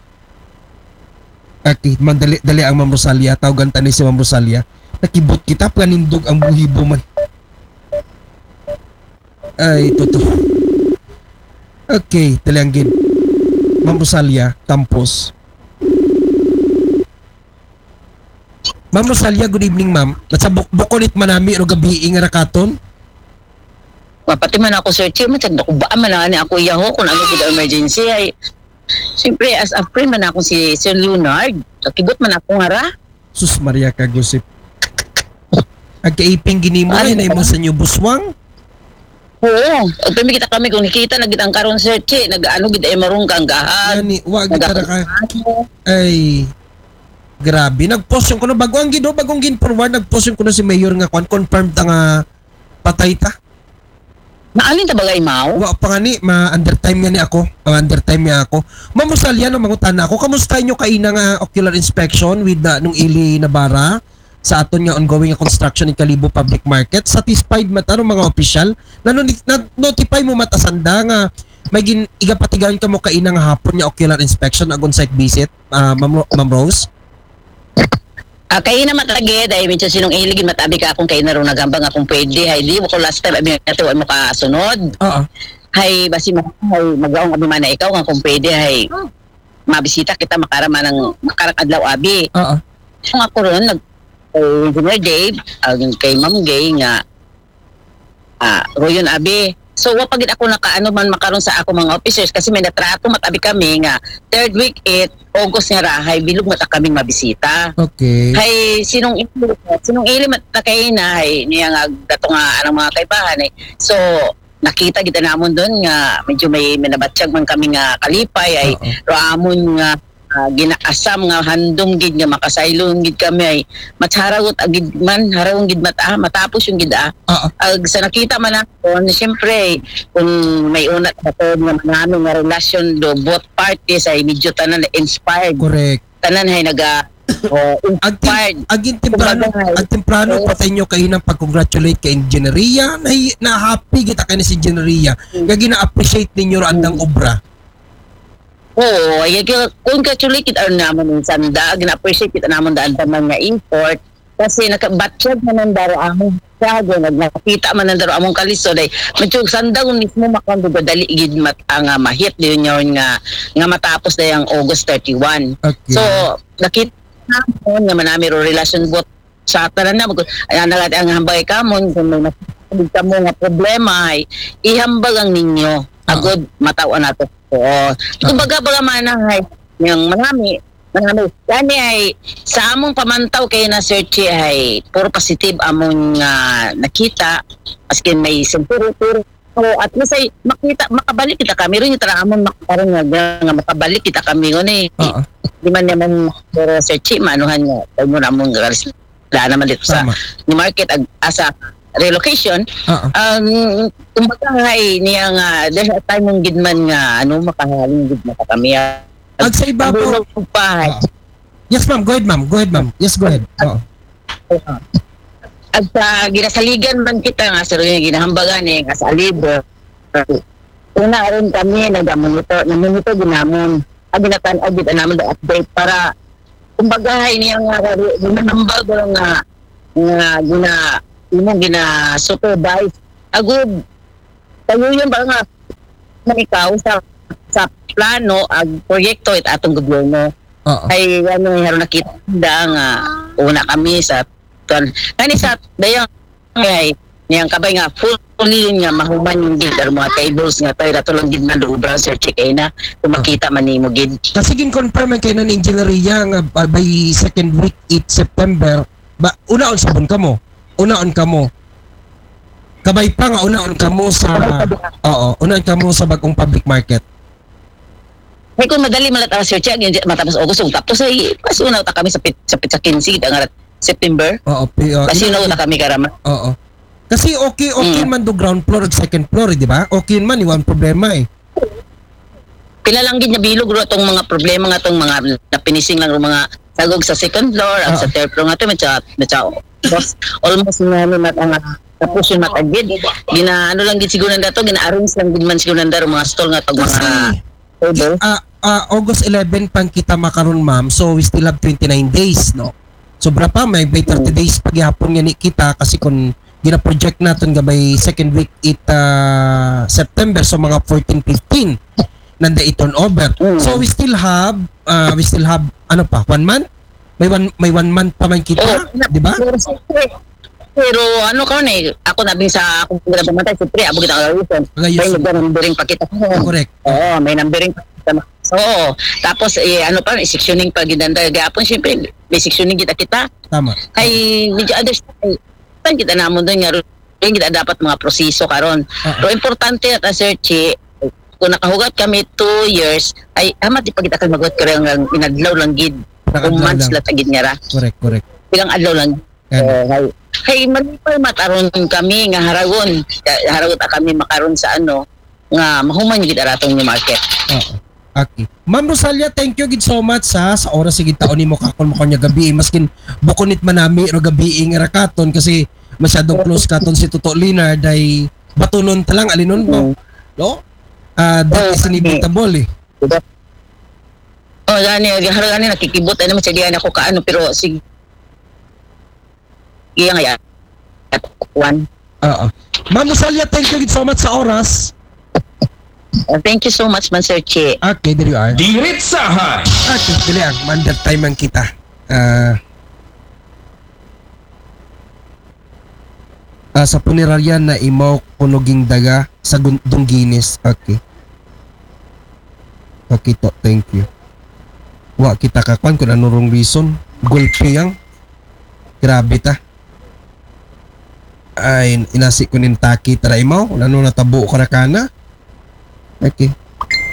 Okay, man dali, dali ang Ma'am Rosalia. Tawgan ta ni si Ma'am Rosalia. Nakibot kita, panindog ang buhibo man. Ay, toto. Okay, dali ang gid. Ma'am Rosalia, tampos. Ma'am Rosalia, good evening, ma'am. Nasa buk bukonit manami ro gabi nga rakaton. Mapati man ako, Sir Chi, matag nakubaan man ani ako iyaho kung ano gid ang emergency ay. Siyempre, as a friend man ako si Sir Leonard, nakibot man ako nga ra. Sus Maria ka gusip. Ag kaiping ginimo Ay, ay na imo sa inyo buswang. Oo, at may kita kami kung nakita na gid ang karon, Sir Chi, nag-ano gid ay marong kanggahan. Gani, wa gid tara ka. Ay. Grabe, nag-post yung kuno bago ang gido, bagong gin forward, nag-post yung kuno si Mayor nga kwan, confirmed ta nga patay ta. Naalin ta bagay, Mao? Wa pa nga ni, ma-undertime nga ni ako. Ma-undertime nga ako. Ma'am Rosalia, no, mangutana ako. Kamusta inyo kaina nga ocular inspection with uh, nung Ili Navarra sa aton nga ongoing nga construction in Kalibo Public Market? Satisfied man ta, no, mga opisyal? Nano, na-notify mo matasanda nga may gin igapatigayon kamo kaina nga hapon nga ocular inspection ag on-site visit, ah, Ma'am, Ro- Ma'am Rose? Ah, kaina matagid, ay medyo sinong ilig matabi ka akong kaina ron nagambang akong pwede, ay di ko last time abi nato ay makasunod. Oo. Hay basi ma hay magaong abi man na ikaw nga kung pwede hay mabisita kita makarama ng makarang adlaw abi. Oo. Kung ako ron nag kay Engineer Dave, ang kay Ma'am Gay nga ah, Royon Abi. So, wa pa gid ako nakaano man makaron sa ako mga officers kasi may natrato matabi kami nga third week it August nga rahay bilog mata kaming mabisita. Okay. Hay sinong ili, sinong ili mata kay na hay niya nga gato nga anang mga kaibahan eh. So, nakita gid namon doon nga medyo may minabatyag man kami nga kalipay ay Oo. raamon nga ah, ginaasam nga handom gid nga makasaylon gid kami ay mas haragot agid man harawon gid mata matapos yung gid ah Oo. ag sa nakita man ako na siyempre kung may una ako nga manami nga relasyon do both parties ay medyo tanan na inspired Correct. Tanan hay naga oh, Ag, inspired tim- ag in temprano, Kumbaga, hay. ag temprano Oo. Patay nyo kayo ng pag-congratulate kay Engineeria. Na, na happy kita kayo sa Engineeria. Nga gina-appreciate ninyo ra andang obra. Oo, ay kaya congratulate kita naman ng sanda, gina-appreciate kita naman daan pa man nga effort. Kasi nakabatyag man ang daro among sago, nagkita man ang daro among kalisod ay medyo sanda kung mismo makon dali gid mat ang ah, mahit diyon yun nga nga matapos na yung August thirty-one. Okay. So, nakita naman nga manami ro relasyon bot sa tanan na mag ay ang nagati ang hambay kamon kung may nasabog kamo nga problema ay ihambag ang ninyo agod mataw nato. Oo. Kumbaga baga man ay yung manami manami yani ay sa among pamantaw kay na search ay puro positive among nga nakita askin may senturo pero so, at least ay makita makabalik kita kami rin yung tara among makaroon nga, nga makabalik kita kami ngun eh. Oo. Di man naman pero search maanuhan nga tayo mo namong garis wala naman dito sa Tama. New Market ag asa relocation. Oo. Um, kumbaga ay niya nga there's a time mong gid man nga ano makahaling gid na kami. Ag sa ibabaw. Ang pa Oo. Yes, ma'am. Go ahead, ma'am. Go ahead, ma'am. Yes, go ahead. Oo. At sa ginasaligan man kita nga sa rin ginahambagan eh, nga sa alibur. Una rin kami nag-monitor, nag-monitor din namin. Ang ginatan-, ang gid namin the update para kumbaga ay niya nga ginahambag nga nga gina imo gina-supervise. Agud, kayo yung ba nga man ikaw sa sa plano ag proyekto it atong gobyerno. Oo. Ay ano, haron nakita da nga una kami sa tuan kani sa dayang ay niyang kabay nga fully nga mahuman yung gid ang mga tables nga tayo rato lang gid man do obra, Sir Chick, ay na kung makita man nimo gid. Kasi gin-confirm man kay na ni Engineer Ria nga, ah, by second week it September, ba, unaon sabon kamo. Unaon kamo. Kabay pa nga unaon kamo sa, oo, unaon kamo sa bagong public market. Ay kung madali malat ang Sir Chick, yung matapos August, kung tapos ay mas una ta kami sa pit, sa pit sa quince ang arat September. Oo, pi- oo. Kasi una ta kami karama. Oo. Kasi okay, okay Mm. man do ground floor ug second floor, eh, di ba? Okay man, iwan problema eh. Pila lang gid nga bilog ro tong mga problema nga tong mga na-finishing lang ro mga sagog sa second floor, ang Ah. sa third floor nga to, may sa, may sa, almost nga ni mat ang tapos yung matagid. Gina ano lang gid siguro nanda to, gina-arrange lang gid man siguro nanda ro mga stall nga to, Kasi, mga table. ah, ah, August eleven pang kita makaron, ma'am. So we still have twenty-nine days, no? Sobra pa, may, may thirty days pa gihapon nga ni kita kasi kung gina-project naton nga by second week it ah, September, so mga fourteen, fifteen nanda i-turnover. Mm. So we still have, ah, we still have ano pa, one month? May one may one month pa man kita, Oh, di ba? Pero, siyempre, pero ano ka ni, ako nabing sa akong ginapamatay, siyempre, abo kita ang reason. Ngayon, May nagda-numbering pa kita. Correct. Oo, may numbering pa kita. Oo. Tapos, eh, ano pa, may sectioning pa gid nanda gahapon, siyempre, may sectioning kita kita. Tama. Ay, medyo understand. Tan kita namon doon nga, rin kita dapat mga proseso karon. Ah. Pero importante at Sir Chi, kung nakahugat kami two years, ay, amat di pa kita kay maguhat karon nga inadlaw lang gid. Nakadlaw Kung months lang. lang ta gid nga ra. Correct, correct. Pilang adlaw lang. Yan. Eh, hay, hay, malipay mataron kami nga haragon. Haragon ta kami makaron sa ano, nga mahuman gid araton yung market. Oo. Okay. Ma'am Rosalia, thank you gid so much ha, sa oras sige taon nimo kakon mo kanya gabi, maskin bukunit manami ro gabi nga rakaton kasi masyadong close katon si Toto Leonard ay batunon ta lang alinon mo, no? Ah, that is inevitable eh. Oh, gani, gahara gani nakikibot ano man sa diyan ako kaano, pero sige. Iya nga yan. Kuan. Oo. Ma'am Rosalia, thank you gid so much sa oras. Uh, thank you so much, man, Sir Chi. Okay, there you are. Diritsahan! Okay, dili ang under time ang kita. Ah, ah, sa punerarya na imaw kunoging daga sa gun- Dunginis. Okay. Okay to, thank you. Wa kita kakuan kung ano rong reason. Gulpi yang. Grabe ta. Ay, inasi ko nin taki tara imaw. Ano natabo ka ra kana? Okay.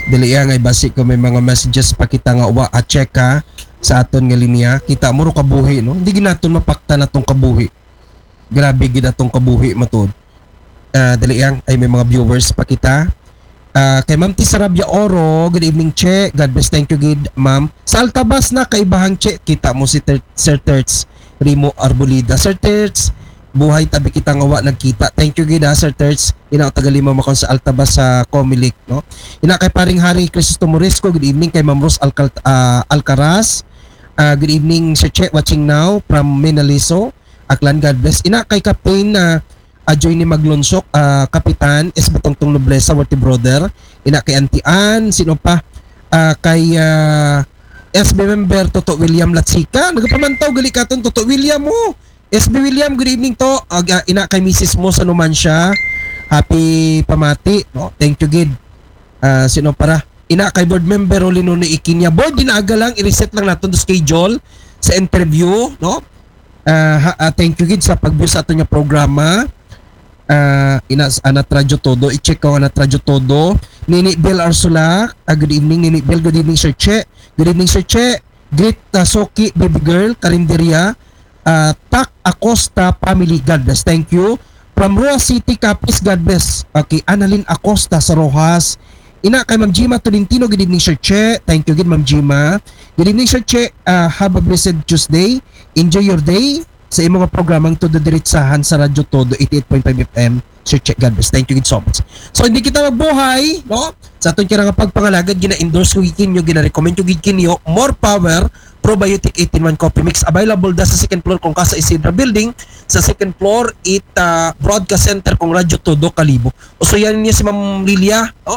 Dili iya nga ibasi ko may mga messages pa kita nga wa a check ha sa aton nga linya. Kita mo ro kabuhi, no? Hindi ginaton mapakta natong kabuhi. Grabe gid atong kabuhi matod. Ah, dali yang ay may mga viewers pa kita. Ah, kay Ma'am Tisarabia Oro, good evening, Che. God bless, thank you gid, Ma'am. Sa Altabas na kaibahang Che, kita mo si Ter- Sir Terts Rimo Arbolida. Sir Terts, buhay tabi kita nga wa nagkita. Thank you gid ha, Sir Terts. Ina taga lima makon sa Altabas sa Comelec, no? Ina kay paring Hari Crisostomo Morisco, good evening kay Ma'am Rose Alcal ah, Alcaraz. Ah, good evening, Sir Che, watching now from Menaliso, Aklan. God bless. Ina kay Captain ah, Ajoy ni Maglonsok, ah, Kapitan S B Tongtong Noblesa, Worthy Brother. Ina kay Auntie Ann, sino pa? Ah, kay ah, S B member Toto William Latsika. Nagapamantaw gali katon Toto William mo. S B William, good evening to. Ag, ah, ina kay Missus mo sa Numancia. Happy pamati, no? Thank you gid. Ah, sino para? Ina kay board member Rolino ni Ikinya. Board, dinaaga lang, i-reset lang naton to schedule sa interview, no? Ah, ha- ah, thank you gid sa pag-view sa aton nga programa. Ah, ina sa Anat Radyo Todo, i-check ko Anat Radyo Todo. Nini Bill Arsula, ah, good evening Nini Bill, good evening Sir Che. Good evening Sir Che. Greet ah, Soki, baby girl, Karinderia. Ah, Tak Acosta family, God bless. Thank you. From Roa City, Capiz, God bless. Okay, Annalyn Acosta sa Roxas. Ina kay Ma'am Jima Tolentino, good evening Sir Che. Thank you gid Ma'am Jima. Good evening Sir Che. Ah, have a blessed Tuesday. Enjoy your day sa imong nga programang Todo Diretsahan sa Radyo Todo eighty-eight point five F M. Sir Che, God bless. Thank you gid so much. So hindi kita magbuhay, no? Sa aton kira nga pagpangalagad, gina-endorse ko gid kinyo, gina-recommend ko gid kinyo, more power Probiotic eighteen one Coffee Mix. Available da sa second floor kong Casa Isidra Building, sa second floor it ah, Broadcast Center kong Radyo Todo Kalibo. Usuyan niyo si Ma'am Lilia, oh,